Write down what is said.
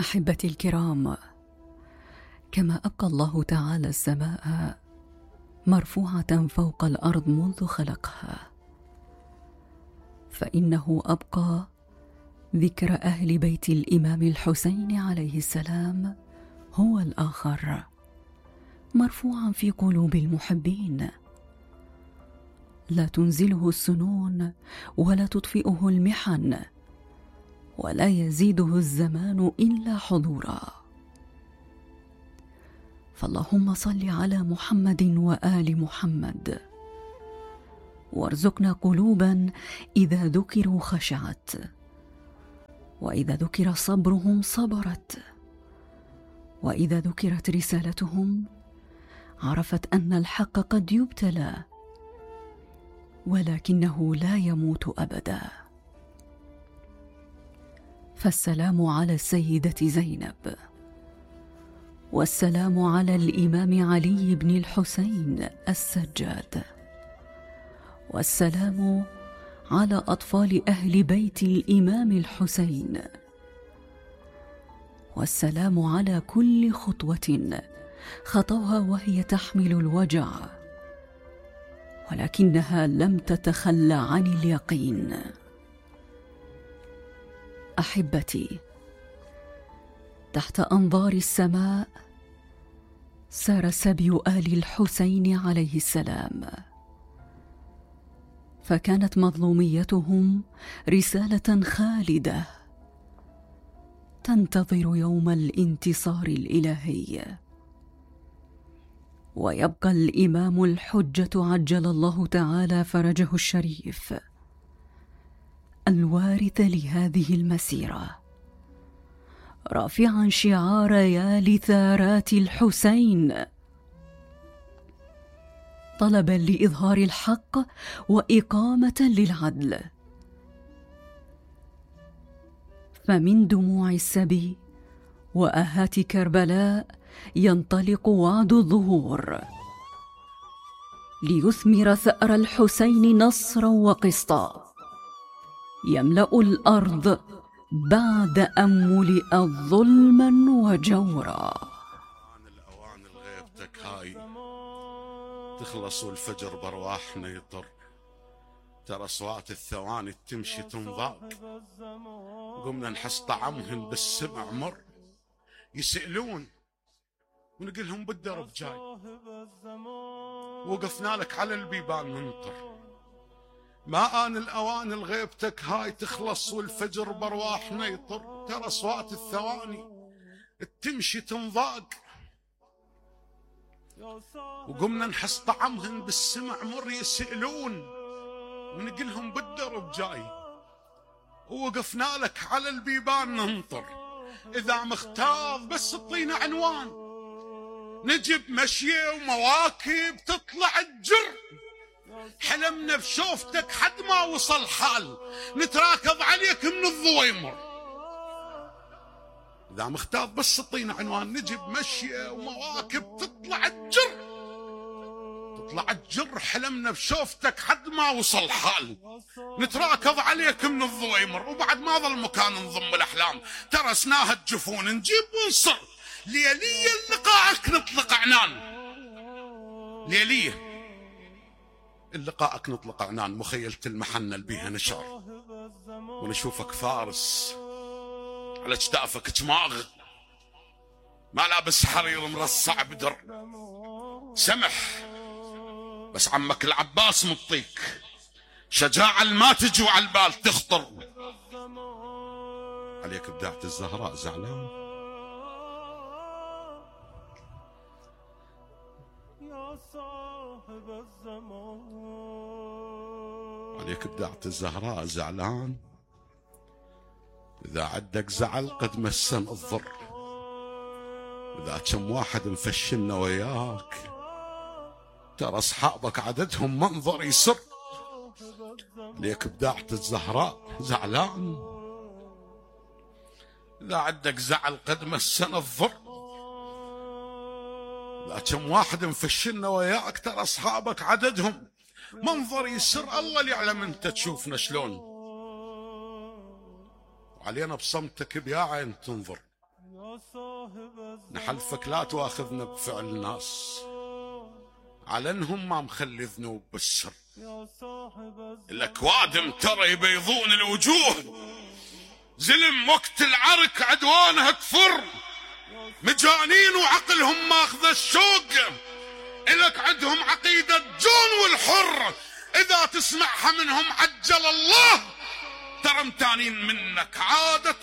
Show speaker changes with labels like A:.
A: أحبتي الكرام، كما أبقى الله تعالى السماء مرفوعة فوق الأرض منذ خلقها، فإنه أبقى ذكر أهل بيت الإمام الحسين عليه السلام هو الآخر، مرفوعا في قلوب المحبين، لا تنزله السنون ولا تطفئه المحن، ولا يزيده الزمان إلا حضورا. فاللهم صل على محمد وآل محمد، وارزقنا قلوبا إذا ذكروا خشعت، وإذا ذكر صبرهم صبرت، وإذا ذكرت رسالتهم عرفت أن الحق قد يبتلى ولكنه لا يموت أبدا. فالسلام على السيدة زينب، والسلام على الإمام علي بن الحسين السجاد، والسلام على أطفال أهل بيت الإمام الحسين، والسلام على كل خطوة خطوها وهي تحمل الوجع ولكنها لم تتخلى عن اليقين. أحبتي، تحت أنظار السماء سار سبي آل الحسين عليه السلام، فكانت مظلوميتهم رسالة خالدة تنتظر يوم الانتصار الإلهي، ويبقى الإمام الحجة عجل الله تعالى فرجه الشريف الوارث لهذه المسيرة، رافعا شعار يا لثارات الحسين، طلبا لإظهار الحق وإقامة للعدل. فمن دموع السبي وآهات كربلاء ينطلق وعد الظهور ليثمر ثأر الحسين نصرا وقسطا، يملأ الأرض بعد أن ملئت ظلما وجورا.
B: الأوان الغيبتك هاي تخلص والفجر برواحنا يطر، ترى أصوات الثواني تمشي تنضاق، قمنا نحس طعمهن بالسمع مر، يسألون ونقلهم بالدرب جاي، وقفنا لك على البيبان ننطر، ما آن الأوان الغيبتك هاي تخلص والفجر برواحنا يطر، ترى أصوات الثواني تمشي تنضاق، وقمنا نحس طعمهن بالسمع مر، يسألون ونقلهم بالدرب جاي، ووقفنا لك على البيبان ننطر، إذا مختار بس اعطينا عنوان، نجيب مشية ومواكب تطلع الجر، حلمنا بشوفتك حد ما وصل حال، نتراكض عليك من الضويمر، إذا مختار بس اعطينا عنوان، نجيب مشية ومواكب تطلع الجر، تطلع الجر، حلمنا بشوفتك حد ما وصل حال، نتراكض عليك من الضويمر، وبعد ما ظل مكان نضم الأحلام، ترسناها الجفون نجيب ونصر، ليلية لقاءك نطلق عنان، ليلية اللقاءك نطلق عنان، مخيلة المحنة اللي بيها نشر، ونشوفك فارس على اجتافك جماغ، ما لابس حرير مرصع بدر، سمح بس عمك العباس مطيك شجاعة ما تجي على البال تخطر، عليك بداعة الزهراء زعلان، عليك بداعة الزهراء زعلان، إذا عدك زعل قد مسن الضر، إذا كم واحد مفشلنا وياك، ترى أصحابك عددهم منظر يسر، عليك بداعة الزهراء زعلان، إذا عدك زعل قد مسن الضر، إذا كم واحد مفشلنا وياك، ترى أصحابك عددهم منظر يسر، الله اللي يعلم أنت تشوفنا شلون، وعلينا بصمتك بيا عين تنظر، نحلفك لا تواخذنا بفعل ناس على انهم ما مخلي ذنوب بالسر. الاكوادم ترى يبيضون الوجوه، زلم وقت العرك عدوانها كفر، مجانين وعقلهم ماخذ الشوق، إلك عندهم عقيدة جون والحر، إذا تسمعها منهم عجل الله، ترى متانين منك عادة